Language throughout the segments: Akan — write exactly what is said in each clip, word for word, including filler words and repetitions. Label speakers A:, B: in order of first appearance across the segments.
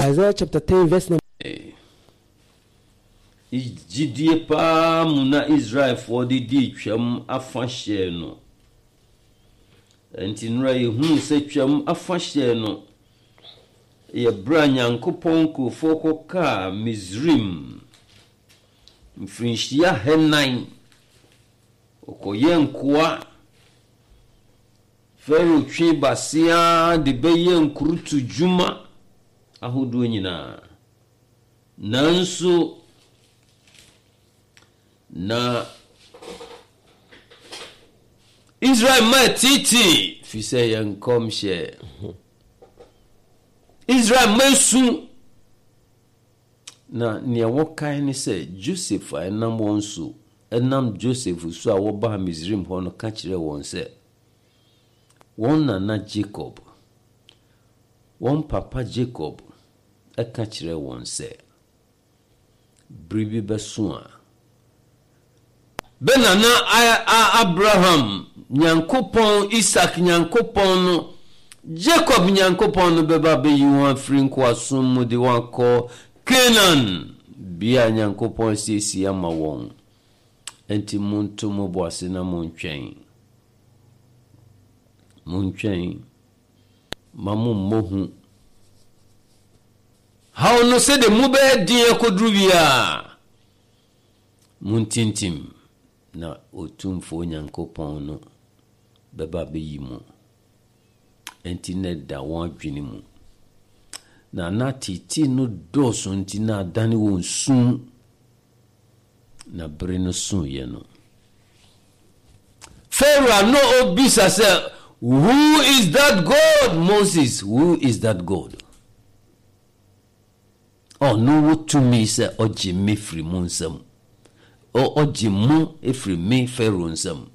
A: Isaiah chapter ten, verse number.
B: Gyidie paa mu na Israelfoɔ de dii Twam afahyɛ no. Enti nnora yɛhunuu sɛ Twam afahyɛ no yɛ berɛ a Nyankopɔn nkurɔfoɔ kɔkaa Misraim mfirinhyia ahanan. Wɔkɔyɛɛ nkoa. Farao twee base ara de bɛyɛɛ nkurutu dwuma ahodoɔ nyinaa. Nanso, na Israel mma ɛteetee, firi sɛ yɛ nkɔmhyɛ. Israel mma esu. Na nea wɔkae ne sɛ, Joseph a ɛnam wɔn so, ɛnam Joseph so a wɔbaa Misraim hɔ no ka kyerɛɛ wɔn sɛ, wɔn nana Jacob, wɔn papa Jacob ka kyerɛɛ wɔn sɛ, bere bi bɛso a, bɛ nana Abraham Nyankopɔn, Isak Nyankopɔn no, Jacob Nyankopɔn no bɛba abɛyi wɔn afiri nkoasom mu de wɔn akɔ Canaan, bea a Nyankopɔn asiesie ama wɔn. Enti monto mo bo ase na montwɛn. Montwɛn. Mma mommɔ hu. Haw no sɛdeɛ mu bɛyɛ den akɔduru biara, montintim, na Otumfoɔ Nyankopɔn no bɛba abɛyi mo. Enti na ɛda wɔn adwene mu. Na na teetee no dɔɔso nti na adane wɔn su. Na bere no soeɛ no, Farao a na ɔbisa sɛ, Who is that God? Moses, who is that God? Ɔno wɔ tumi sɛ ɔgye me firi mo nsam. Ɔgye mo firi me Farao nsam.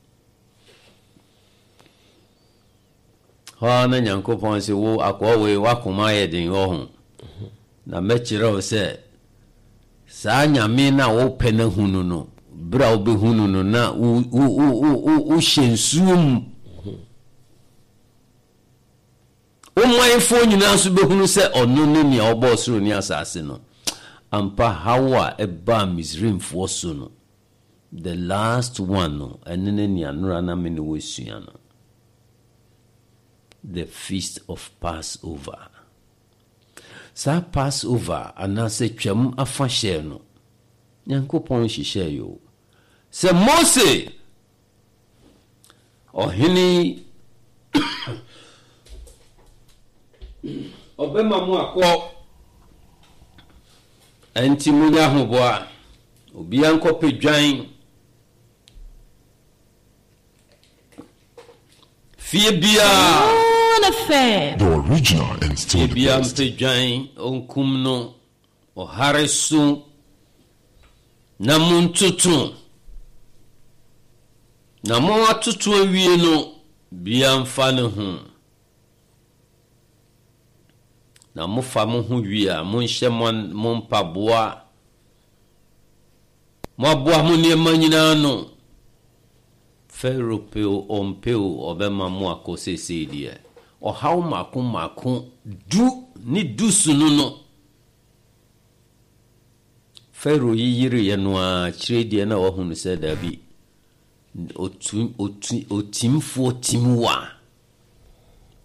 B: Hɔ ara na Nyankopɔn se, Wo akoa wei, w'akoma ayɛ den wɔ ho, na mɛkyerɛ wo sɛ saa Nyame no a wopɛ no ahu no no, berɛ a wobɛhu no no na wo, wo, wo, wo, wo, wohyɛ nsuo mu. Wo manfoɔ nyinaa nso bɛhunu sɛ ɔno ne nea ɔbɔɔ soro ne asase no. Ampa, haw a ɛbaa Misraimfoɔ so no, The last one no, ɛno ne nea nnora na me ne wo resua no. The Feast of Passover. Saa Passover anaasɛ Twam afahyɛ no, Nyankopɔn hyehyɛe o. Sɛ Mose, ɔhene yi, ɔbɛma mo akɔ, ɛnti monyɛ ahoboa. Obiara nkɔpɛ dwan. Fie biara.
C: The original and still
B: Fie
C: the
B: biara
C: best.
B: mpɛ dwan, ɔnkum no ɔhare so, na montoto. Na moatoto awie no, biara mfa ne ho. Na mofa mo ho wie a, monhyɛ mo, mo mpaboa. Moaboa mo nneɛma nyinaa ano. Farao pɛ o, ɔmpɛ o, ɔbɛma mo akɔ seesei deɛ. Ɔhaw mmaako mmaako du ne du so no no, Farao yiyireeɛ no ara, akyire deɛ na wahunu sɛ daabi, otu, otu, otimfoɔ tim wo a,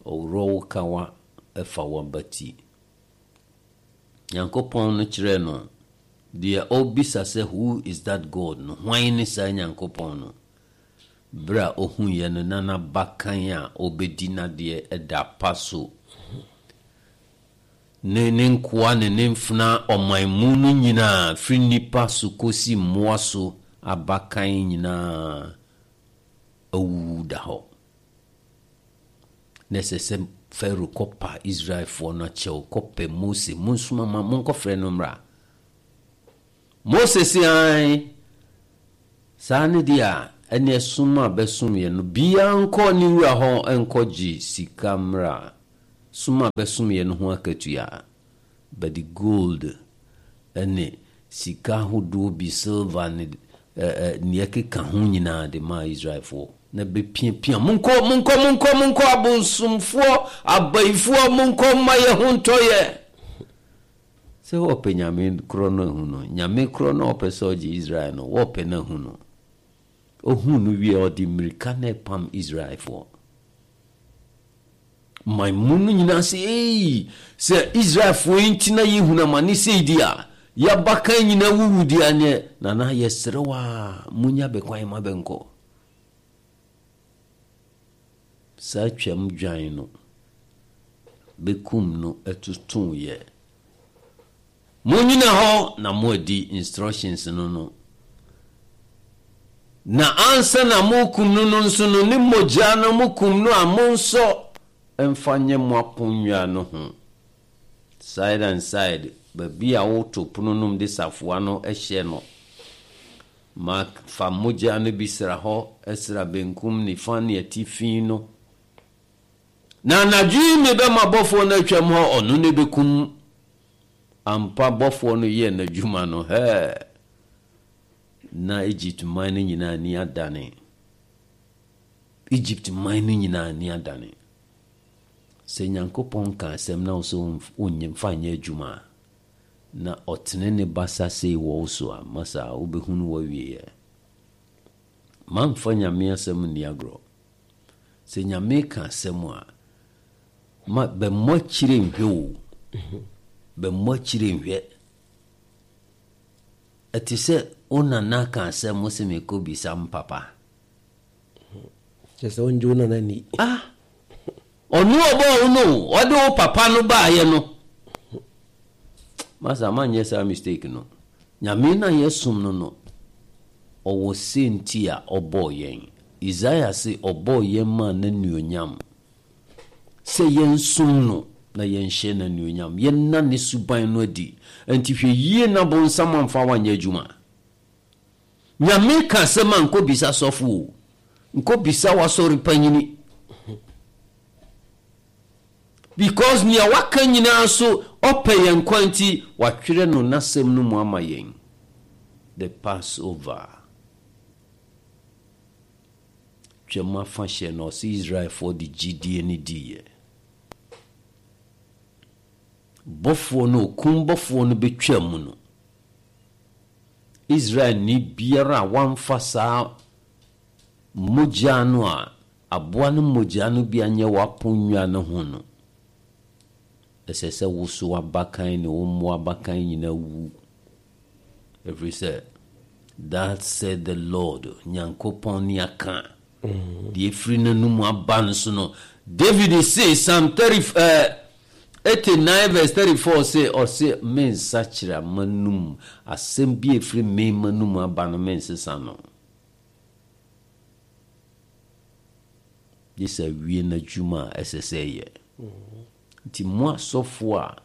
B: ɔworɔ wo kawa fa w'abati. Nyankopɔn no kyerɛɛ no deɛ ɔrebisa sɛ Who is that God? no, hwan ne saa Nyankopɔn no? Berɛ a ɔhuiɛ no na n'abakan a ɔrebɛdi n'adeɛ da apa so, ne ne nkoa ne ne mfenaa ɔman mu no nyinaa, firi nnipa so kɔsi mmoa so abakan nyinaa awuwu da hɔ. Na ɛsɛ sɛ Farao kɔpa Israelfoɔ no akyɛw, kɔpɛ Mose, Monsoma ma monkɔfrɛ no mmra. Mose se, Aane, saa ne deɛ a, ɛneɛ som a bɛsomeɛ no, biara nkɔ ne wura hɔ nkɔgye sika mmra, som a bɛsomeɛ no ho akatua. Bɛde gold ne sika ahodoɔ bi, silver ne nea ɛkeka ho nyinaa de maa Israelfoɔ, na bɛpiapia, Monkɔ, monkɔ, monkɔ, monkɔ, abonsomfoɔ, abayifoɔ, monkɔ mma yɛn ho ntɔ yɛn. Sɛ wɔpɛ Nyame korɔ no ahu no, Nyame korɔ no a ɔpɛ sɛ ɔgye Israel no, wɔpɛ no ahu no. Ɔhuu no wie a, ɔde mmirika na ɛpam Israelfoɔ. Man mu no nyinaa sɛ, Ei, sɛ Israelfoɔ yi nti na yɛhunu amane sei di a, yɛabakan nyinaa wuwu di a, neɛ nana yɛsrɛ wo a, monya bɛ kwan ma bɛnkɔ. Saa twam dwan no, bɛkum no totoeɛ. Monyina hɔ na moadi instructions no no. Na ansa na morekum no no nso no, ne mogya no mokum no a, monsɔ mfa nyɛ mo aponnwa no ho. Side and side, baabi a woto pono no mu de safoa no hyɛ no. Mark fa mogya no bi sra hɔ, sra benkum, nifa ne atifi no. Na anadwo yi mebɛma bɔfoɔ no atwam hɔ, ɔno na ɛbɛkum. Ampa, bɔfoɔ no yɛɛ n'adwuma no, hɛɛ! Na Egypt man no nyinaa ani adane. Egypt man no nyinaa ani adane. Sɛ Nyankopɔn ka asɛm na wo sɛ womfa nyɛ adwuma a, na ɔtene ne basa sei wɔ wo so a, masa wobɛhunu w'awieɛ. Mamfa Nyame asɛm nni agorɔ. Sɛ Nyame ka asɛm a, ma bɛmmɔ akyire nhwɛ o. Bɛmmɔ akyire nhwɛ. Ɛte sɛ wo nana ka asɛm wo se mekɔ bisa m papa.
A: Kyerɛ sɛ wongye wo nana ni.
B: Ah! Ɔno ɔbɔɔ wo no o, ɔde wo papa no baayɛ no. Masa manyɛ saa mistake no. Nyame no a yɛsom no no, ɔwɔ sɛnti a ɔbɔɔ yɛn. Isaiah se ɔbɔɔ yɛn maa n'anuonyam. Sɛ yɛnsom no na yɛnhyɛ no anuonyam, yɛnna ne suban no adi. Ɛnti hwɛ yie na bonsam amfa wo anyɛ adwuma. Nyame ka asɛm a nkɔ bisa sɔfo o, nkɔ bisa w'asɔre panyini. Because nea waka nyinaa so ɔpɛ yɛn nkwa nti watwerɛ no n'asɛm no mu ama yɛn. The Passover. Twam afahyɛ no ɔse Israelfoɔ de gyidie no diiɛ. Bɔfoɔ no, okum bɔfoɔ no bɛtwaa mu no, Israelni biara a wamfa saa mogya no a aboa no mogya no bi anyɛ w'aponnwa no ho no, ɛsɛ sɛ wo so w'abakan ne wo mmoa abakan nyinaa wu. Ɛfiri sɛ, That said the Lord, Nyankopɔn ne aka, deɛ ɛfiri n'anomu aba no so no. David se, Psalm thirty, eh, eighty-nine verse thirty-four se, ɔse, mensakyera m'anum, asɛm bi a ɛfiri me m'anum aba no, mensesa no. Gye sɛ awie n'adwuma a ɛsɛ sɛ ɛyɛ. Nti mo asɔfoɔ a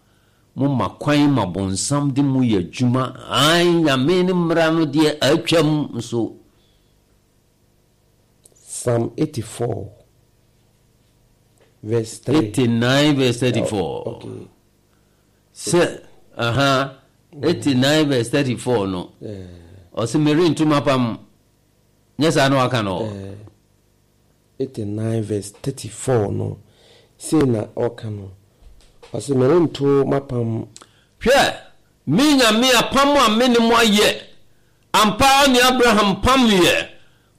B: moma kwan ma bonsam de mo yɛ adwuma, ae, Nyame ne mmara no deɛ atwam nso.
A: Psalm eighty-four verse three.
B: eighty-nine verse thirty-four.
A: Oh, okay.
B: Sɛ, aha, eighty-nine verse thirty-four no.
A: Yeah.
B: Ɔse merento m'apam. Nyɛ saa na waka no.
A: Yeah. eighty-nine verse thirty-four no, sei na ɔka no. Ɔse merento m'apam.
B: Hwɛ, me Nyame apam a me ne mo ayɛ, ampa ara ne Abraham pamyɛ,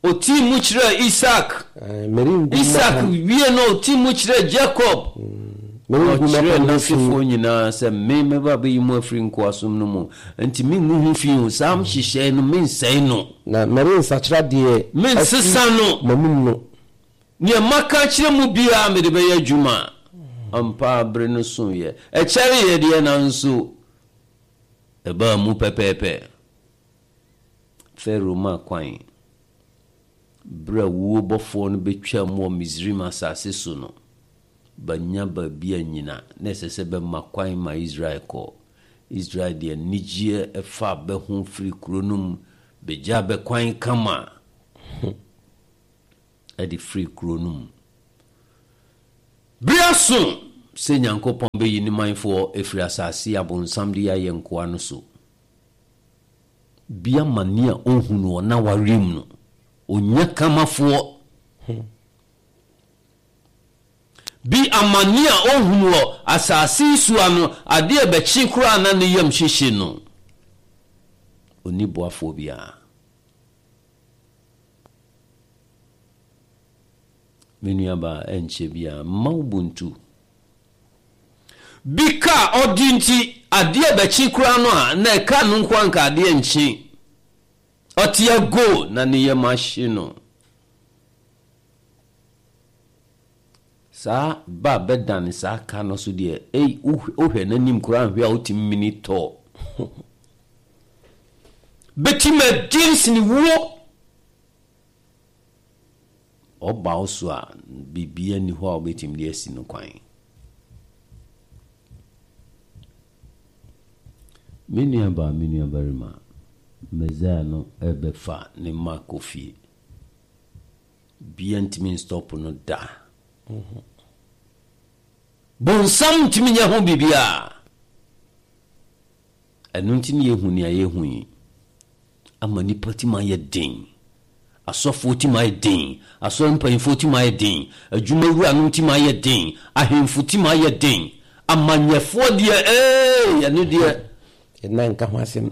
B: ɔtii mu kyerɛɛ Isak,
A: Ae, merengu
B: Isak
A: m'apam.
B: wie no ɔtii mu kyerɛɛ Jacob, na
A: Merengu
B: ɔkyerɛɛ
A: m'apam ho fi.
B: n'asefoɔ nyinaa sɛ me mɛba abɛyi mo afiri nkoasom no mu, enti mengu ho fi o, saa nhyehyɛe no mensɛe no.
A: Na merensakyera deɛ afiri
B: Mensesa no.
A: m'anom no.
B: Nea maka akyerɛ mo biara mede bɛyɛ adwuma. Ampa ara bere no soeɛ. Ɛkyɛreeɛ deɛ, nanso ɛbaa mu pɛpɛɛpɛ. Farao maa kwan. Bere a wuo bɔfoɔ no bɛtwaam wɔ Misraim asase so no, bannya baabi annyina. Na ɛsɛ sɛ bɛma kwan ma Israel kɔ. Israel de anigyeɛ faa bɛ ho firii kuro no mu bɛgyaa bɛ kwan kama de firii kuro no mu. Bere aso sɛ Nyankopɔn bɛyi ne manfoɔ afiri asase a bonsam de yɛ ayɛ nkoa no so. Bi amane a ɔnhu no wɔ n'awareɛ mu no, ɔnya kamafoɔ. Bi amane a ɔhunu wɔ asase yi so ano, adeɛ bɛkye koraa na ne yam hyehye no. Ɔnni boafoɔ biara. Me nuabaa, ɛnkyɛ biara, mma wo bo ntu. Bi ka a ɔde nti, adeɛ bɛkye koraa no a, na ɛka no nko anka adeɛ nkye. Ɔte ago na ne yam ahye no. Saa ba bɛdane saa ka no so deɛ, ei, wohwɛ n'anim koraa nhwɛ a wotumi mini tɔ. Bɛtumi adi nsene wuo. Ɔba wo so a, biribiara nni hɔ a wobɛtumi de asi no kwan. Me nuabaa, me nuabarima, Messiah no ɛbɛfa ne mma kɔ fie. Bia ntumi nstop no da. Bonsam ntumi nyɛ ho biribiara. Ɛno nti ne yɛhu nea yɛhu yi. Ama nipa tim ayɛ den. Asɔfoɔ tim ayɛ den. Asɔre mpanyinfoɔ tim ayɛ den. Adwumawuranom tim ayɛ den. Ahemfo tim ayɛ den. Amanyɛfoɔ deɛ ee ɛno deɛ.
A: Yɛnna nka ho asɛm.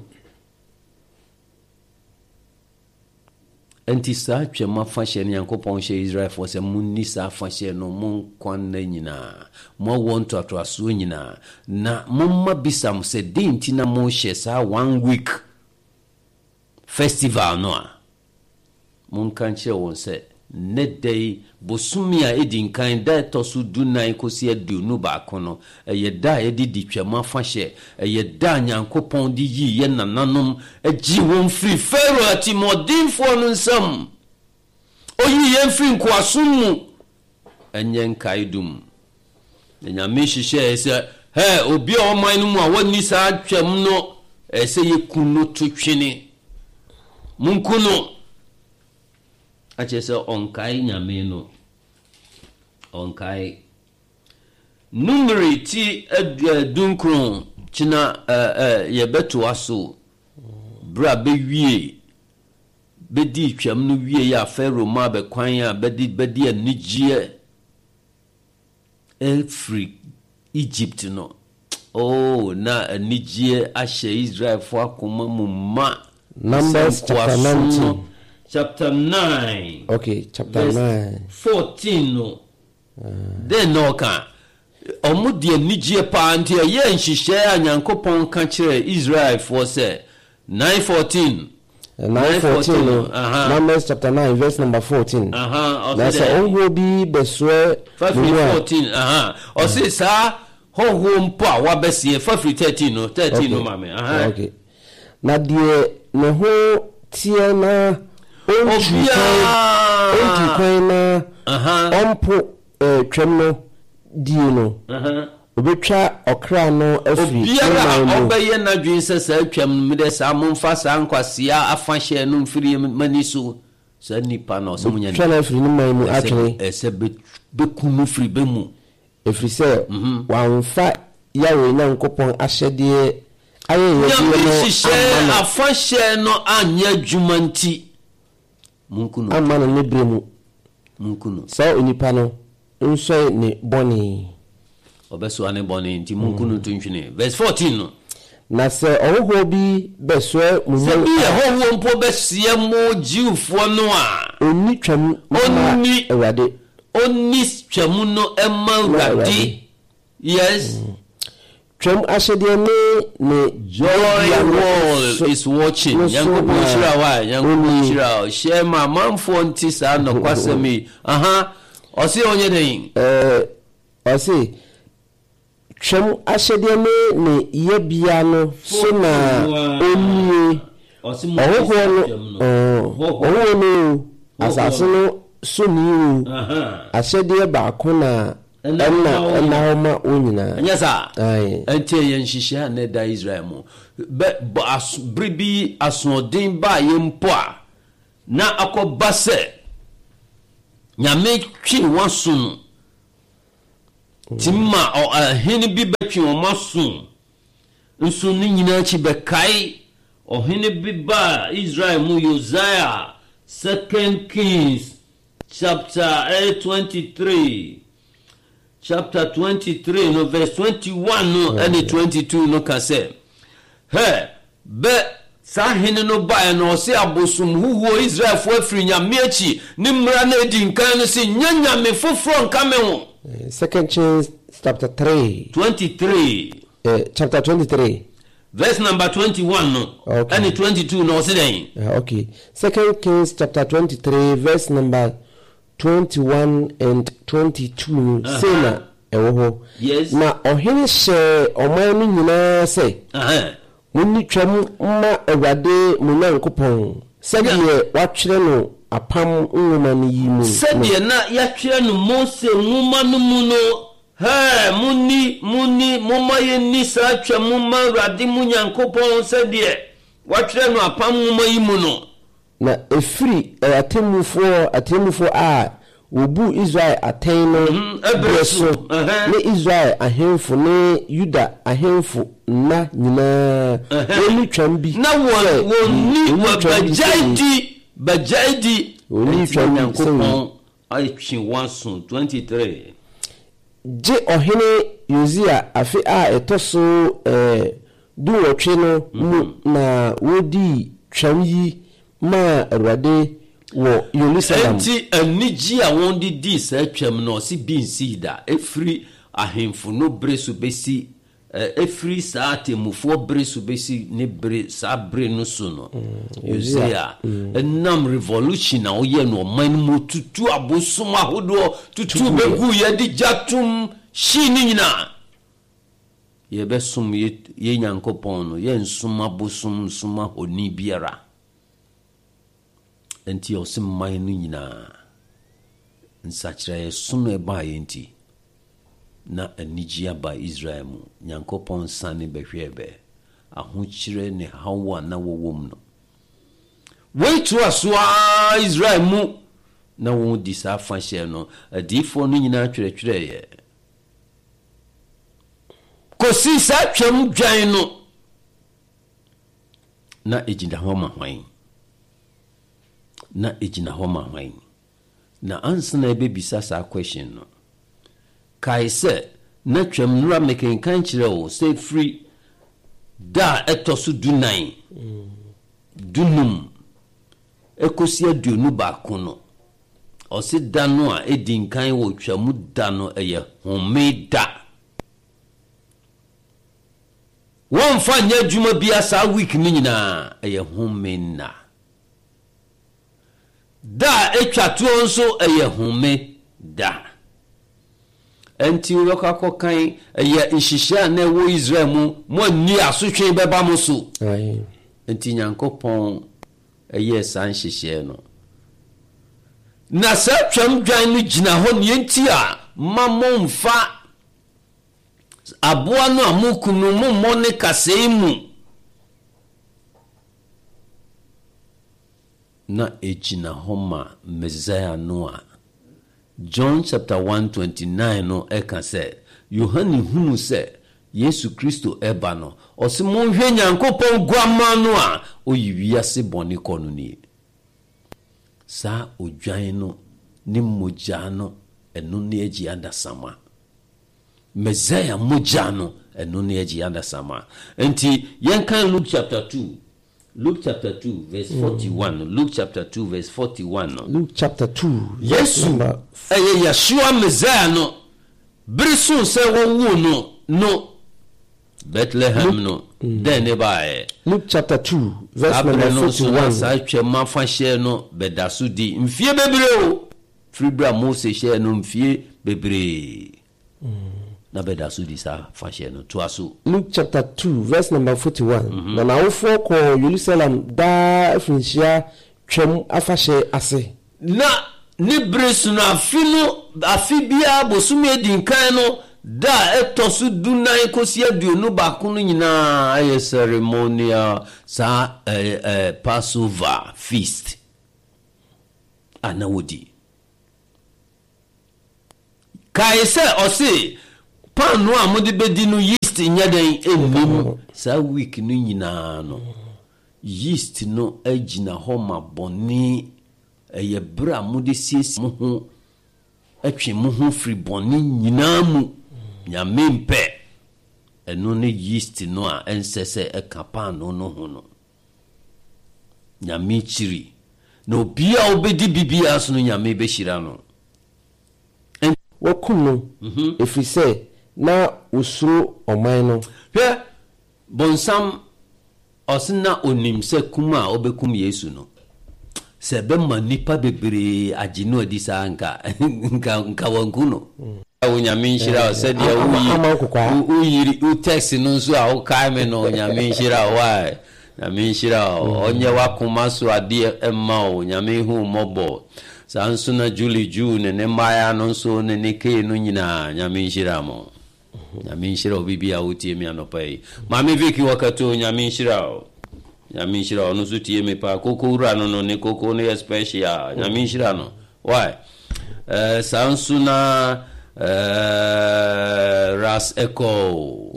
B: Nti saa Twam afahyɛ no Nyankopɔn hyɛ Israelfoɔ sɛ monni saa afahyɛ no mo nkwa nna nyinaa, mo awoɔ ntoatoasoɔ nyinaa, na momma bisa mo sɛ dɛn nti na mohyɛ saa one week festival no a, monka nkyerɛ wɔn sɛ nnɛ da yi, bosome a ɛdi nkan, da ɛtɔ so dunan kɔsi aduonu baako no, ɛyɛ da a yɛde di Twam afahyɛ, ɛyɛ da a Nyankopɔn de yii yɛn nananom gye wɔn firi Farao atirimuɔdenfoɔ no nsam. Ɔyii yɛn firi nkoasom mu. Ɛnyɛ nkaedum. Na Nyame hyehyɛɛ sɛ, hɛ, obi a ɔman no mu a wɔnni saa Twam no, ɛsɛ sɛ yɛku no to twene. Monku no. Akyerɛ sɛ ɔnkae Nyame no. Ɔnkae. Numeri ti dunkron kyena yɛbɛtoa so berɛ a bɛwie bɛdii Twam no wie a Farao maa bɛ kwan a bɛde bɛde anigyeɛ afiri Egypt no. Oh, na anigyeɛ ahyɛ Israelfoɔ akoma mu ma.
A: Numbers chapter nineteen.
B: Chapter nine.
A: Okay, chapter
B: verse
A: nine.
B: fourteen no. Dɛn na ɔka? Ɔmo de anigyeɛ paa nti ɛyɛ nhyehyɛɛ a Nyankopɔn ka kyerɛɛ Israelfoɔ sɛ nine fourteen.
A: nine fourteen no, Numbers chapter nine verse number fourteen.
B: Aha,
A: Na
B: ɔse
A: sɛ
B: dɛ
A: ɔhohoɔ bi bɛsoɛ
B: fa
A: mo
B: firi
A: mu a,
B: fourteen, aha, ɔse saa hɔhoɔ mpo a wabɛseɛ, fa firi thirteen no, thirteen no
A: okay,
B: ma me, aha.
A: okay. Na deɛ ne ho teɛ na ɔntu kwan, ɔntu
B: Obiara,
A: kwan na
B: aha,
A: ɔmpo eh, Twam no die no,
B: aha.
A: obɛtwa ɔkra no afiri ne
B: Obiara a
A: man mu.
B: ɔbɛyɛ n'adwene sɛ saa Twam no, medɛ saa momfa saa nkwasea afahyɛ no mfiri m'ani so, saa nipa no ɔsɛ monyɛ
A: Bɛtwa no afiri ne man mu
B: ɛsɛ
A: atwene.
B: ɛsɛ bɛku no firi bɛ mu.
A: Ɛfiri sɛ wamfa Yahweh Nyankopɔn ahyɛdeɛ ayɛyɛdeɛ
B: Nyame
A: no
B: hyehyɛ
A: amma no
B: afahyɛ no anyɛ adwuma nti, monku no.
A: amma no ne berɛ mu.
B: Monku no.
A: Saa onipa no nsɔe ne bɔne.
B: Ɔbɛsoa ne bɔne nti monku no to ntwene. Verse fourteen no.
A: Na sɛ ɔhohoɔ bi bɛsoɛ mo
B: Sɛ
A: mu
B: bi yɛ
A: a,
B: hɔhoɔ mpo bɛseɛ mo Jewfoɔ no a,
A: ɔnni Twam mma
B: ɔnni
A: Awurade.
B: ɔnni Twam no mma
A: Ma
B: Awurade.
A: Awurade.
B: Yes.
A: Twam ahyɛdeɛ ne ne
B: Joy
A: yɛbea no
B: World
A: so
B: is watching.
A: no so
B: Nyankopɔn
A: na
B: nhyira wo a, Nyankopɔn
A: ɔnnie.
B: nhyira wo. Hyɛ ma amanfoɔ nte saa nɔkwasɛm yi. Aha. Ɔse ɔnyɛ dɛn?
A: Ɛɛ, ɔse Twam ahyɛdeɛ ne ne yɛbea no so na ɔnnie.
B: Ɔse mo
A: Ɔhohoɔ no,
B: Twam no.
A: ɔɔ, ɔhohoɔ no o, asase no so ni o,
B: Aha.
A: ahyɛdeɛ baako na
B: Ɛna
A: ɛna
B: ma wo
A: ɛna hɔ ma wɔn nyinaa.
B: Ɛnyɛ saa.
A: Ae.
B: Ɛnti ɛyɛ nhyehyɛɛ a na ɛda Israel mu. Bɛ, bɔ aso, bere bi asoɔden baeɛ mpo a, na akɔba sɛ Nyame twe wɔn aso no, tumi ma ɔ, ɔhene bi bɛtwe wɔn aso. Nso ne nyinaa akyi bɛkae ɔhene bi baa Israel mu, Yosiah, Second Kings chapter twenty-three. chapter twenty-three no verse twenty-one no ɛne twenty-two no ka sɛ, hɛ, bɛ saa hene no baeɛ no, ɔse abosom huhuo Israelfoɔ afiri Nyame akyi, ne mmara no adi nkan no se, nyɛ nyame foforɔ nka me ho.
A: Second Kings chapter three.
B: twenty-three.
A: Uh, chapter twenty-three.
B: Verse number twenty-one no.
A: Okay.
B: And twenty-two no, ɔse dɛn?
A: Uh, okay. Second Kings chapter twenty-three verse number twenty-one and twenty-two no.
B: Uh-huh.
A: Say na ɛwɔ hɔ.
B: Yes.
A: Na ɔhene hyɛ ɔman no nyinaa sɛ,
B: Uh-huh.
A: Monni twam mma Awurade mo Nyankopɔn, sɛdeɛ watwerɛ no apam nwoma no yi mu no.
B: Sɛdeɛ na yɛatwerɛ no Mose nwoma no mu no, hɛ, monni, monni, momma yɛnni saa twam mma Awurade mo Nyankopɔn sɛdeɛ watwerɛ no apam nwoma yi mu no.
A: Na ɛfiri atemmufoɔ, atemmufoɔ a wɔbu Israel atɛn no
B: ɛberɛ
A: berɛ
B: so.
A: so,
B: Ɛhɛn.
A: ne Israel ahemfo ne Yuda ahemfo nna nyinaa, wɔnni twam bi
B: Na wɔn,
A: sɛ
B: wɔnni,
A: wɔnni twam bi sɛ
B: wɔbɛgyae di, bɛgyae di.
A: Wɔnni
B: Enti
A: twam bi sɛ
B: Nyankopɔn atwe wɔn aso. twenty-three.
A: Gye ɔhene Yosia afe a ɛtɔ so, eh, dunwɔtwe no mu na wodii twam yi maa Awurade wɔ Yerusalem.
B: Enti anigye a wɔde dii saa twam no, ɔse bi nsii da. Ɛfiri ahemfo no bere so bɛsi, eh, ɛfiri saa atemmufoɔ bere so bɛsi ne bere, saa bere no so no. Yosia, ɛnam revolution a ɔyɛ no ɔman no mu, tutu abosom ahodoɔ, tutu bɛgu yɛde gya tom hyii ne nyinaa. Yɛbɛsom yɛ, yɛ Nyankopɔn no, yɛnsom abosom, nsom ahoni biara. Enti ɔse man no nyinaa, nsakyerɛeɛ som a ɛbaeɛ nti, na anigye aba Israel mu. Nyankopɔn sane bɛhwɛɛ bɛ, ahokyerɛ ne haw a na wɔwɔ mu no. Wei toa so ara Israel mu, na wɔn di saa afahyɛ no, adiyifoɔ no nyinaa twerɛtwerɛeɛ. Kɔsi saa twam dwan no, na ɛgyina hɔ ma hwan? Na ɛgyina hɔ ma hwan? Na ansa na ɛbɛbisa saa question no, kae sɛ na twam nnora mekenkan kyerɛ wo sɛ firi da a ɛtɔ so dunan, dunum, ɛkɔsi aduonu baako no, ɔse da no a ɛdi nkan wɔ twamu da no ɛyɛ home da. Wɔmfa nyɛ adwuma bia saa week no nyinaa, ɛyɛ home nna. Da a ɛtwa toɔ nso ɛyɛ home da. Enti wobɛkɔ akɔkan ɛyɛ nhyehyɛ a na ɛwɔ Israel mu, mo anni asotwe bɛba mo so.
A: Aye.
B: Enti Nyankopɔn ɛyɛɛ saa nhyehyɛ no. Na saa twam dwan no gyina hɔ neɛ nti a ma momfa aboa no a mokum no mommɔ ne kasɛe mu. Na ɛgyina hɔ ma Messiah no a John chapter one twenty-nine no ɛka sɛ Yohane hunu sɛ Yesu Kristo ɛba no, ɔse monhwɛ Nyankopɔn guamma no a oyi wiase bɔne kɔ no nie. Saa odwan no ne mogya no, ɛno ne agye adasamma. Messiah mogya no, ɛno ne agye adasamma. Enti yɛnkan Luke chapter two. Luke chapter two verse forty-one. Luke chapter two verse forty-one no.
A: Luke chapter two verse
B: Yesu
A: number
B: ɛyɛ Yeshua Messiah no. Bere so sɛ wɔwoo no no Bethlehem no, dɛn ne baeɛ?
A: Luke chapter two verse
B: Saa
A: number
B: bere no nso na
A: forty-one.
B: saa twam afahyɛ no bɛda so di mfie bebree o. Firi bere a Mose hyɛɛ no mfie bebree. Na bɛda so di saa afahyɛ no. Toa so.
A: Luke chapter two verse number forty-one. Na n'awofoɔ kɔɔ Yerusalem daa afirinhyia twam afahyɛ ase.
B: Na ne bere so no, afe no, afe biara bosome adi nkan no, da a ɛtɔ so dunan kɔsi aduonu baako no nyinaa ayɛ ceremonial saa, eh, eh, Passover feast a na wodi. Kae sɛ ɔse paano a mode bɛdi no yeast nyɛ dɛn nnim. Saa week no nyinaa no, yeast no agyina hɔ ma bɔne. Ɛyɛ bere a mode siesie mo ho Twe mo ho firi bɔne nyinaa mu. Nyame mpɛ. Ɛno ne yeast no a ɛnsɛ sɛ ɛka paanoo no ho no. Nyame kyiri. Na obiara a ɔbɛdi bi biara so no, Nyame bɛhyira no.
A: Wɔakum no, ɛfiri sɛ na wɔsuro ɔman no.
B: Hwɛ! Bonsam, ɔse na onim sɛ kum a ɔbɛkum Yesu no, sɛ ɛbɛma nnipa bebree agye no adi saa a, nka, nka, nka wanku no. Onyame nhyira wo sɛdeɛ woyi, wo yiri, wo text no nso a wokae me no, Onyame nhyira wo, why? Nyame nhyira wo, ɔnyɛ w'akoma so adeɛ mma wo, Nyame nhu wo mmɔbɔ. Saa nso na Julie Ju ne ne mmaeɛ no nso ne ne Kay no nyinaa, Nyame nhyira mo. Nyame nhyira obi bi a wotie me anɔpa yi. Maame Vicky Wakato, Nyame nhyira wo. Nyame nhyira wo. Ɔno nso tie me paa. Koko wura no no, ne koko no yɛ special. Nyame nhyira no. Why? Eh, saa nso na eh, Ras Echo.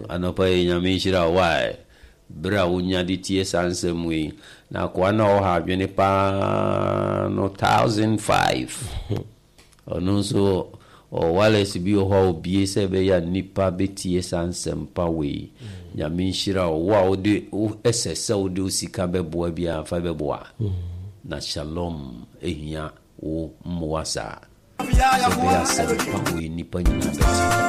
B: Anɔpa yi, Nyame nhyira wo. Why? Bere a wonya de tie saa nsɛm yi, na akoa no a ɔha adwene paa no thousand five. Ɔno nso ɔwɔ wireless bi wɔ hɔ a obue sɛ ɛbɛyɛ a nnipa bɛtie saa nsɛmpa wei. Nyame nhyira wo. Wo a wode wo ɛsɛ sɛ wode wo sika bɛboa biara fa bɛboa. Na Shalom hia wo mmoa saa sɛ ɛbɛyɛ a asɛmpa wei nnipa nyinaa bɛte.